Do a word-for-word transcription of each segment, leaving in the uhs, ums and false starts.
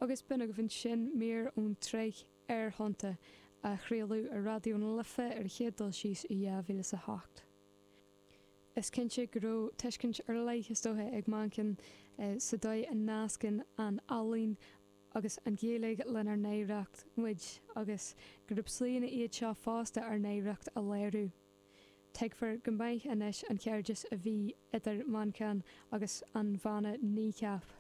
Agus b'in agaibh ansin mír ón tsraith Aerthonnta a chraoladh ar Raidió na Life ar an chéad dul síos i dhá mhíle is a hocht. Is cinnte go raibh tuiscint ar leith is dócha ag Manchán sa dóigh a nascann an ealaín agus an Ghaeilge lenár n-oidhreacht muid agus gurb slíonna iad seo fosta ár n-oidhreacht a léiriú. Tuigfear go maith anois an cairdeas a bhí idir Manchán agus an bhanna Kneecap.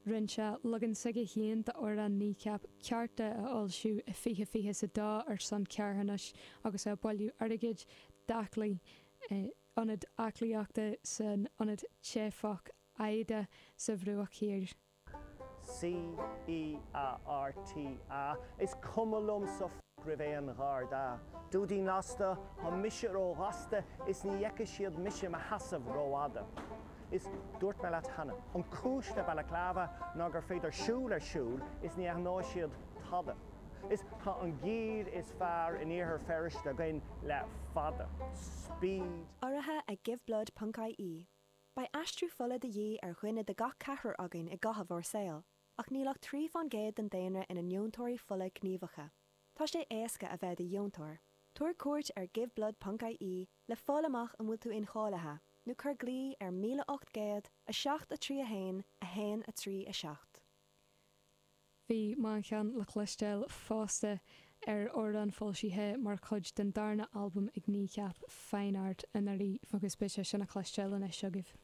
Rinne sé leagan s'aige féin d'amhrán Kneecap Cearta a fhoilsiú i fiche fiche is a dó ar son carthanais agus é ag bailiú airgid d'aclaí ionad aclaíochta san ionad teifeach Aida sa Bhruach Thiar. C E A R T A, Is cuma liomsa roimh aon gharda. Dúidín lasta, tá mise róghasta is ní fheicfidh siad mise mo sheasamh rófhada. Is dúirt mé leat cheana, an cúis le balaclava ná gur féidir siúl ar siúl is ní aithneoidh siad tada. Is tá an gear is fearr in Iarthar Feirste againn le fada. Speed. Urraithe ag Giveblood ponc ie. Beidh aistriú fola de dhíth ar dhuine de gach ceathrar againn i gcaitheamh ár saoil, ach níl ach trí faoin gcéad den daonra ina ndeontóirí fola gníomhacha. Tá sé éasca a bheith i do dheontóir. Tabhair cuairt ar Giveblood ponc ie le fáil amach an bhfuil tú incháilithe, nó cuir glao ar míle ocht gcéad, a seacht a trí a haon, a haon a trí a seacht. Bhí Manchán le cloisteáil fosta ar amhrán foilsithe mar chuid den darna albam ag Kneecap, Fine Art, anuraidh agus beidh sé sin a chloisteáil anois agaibh.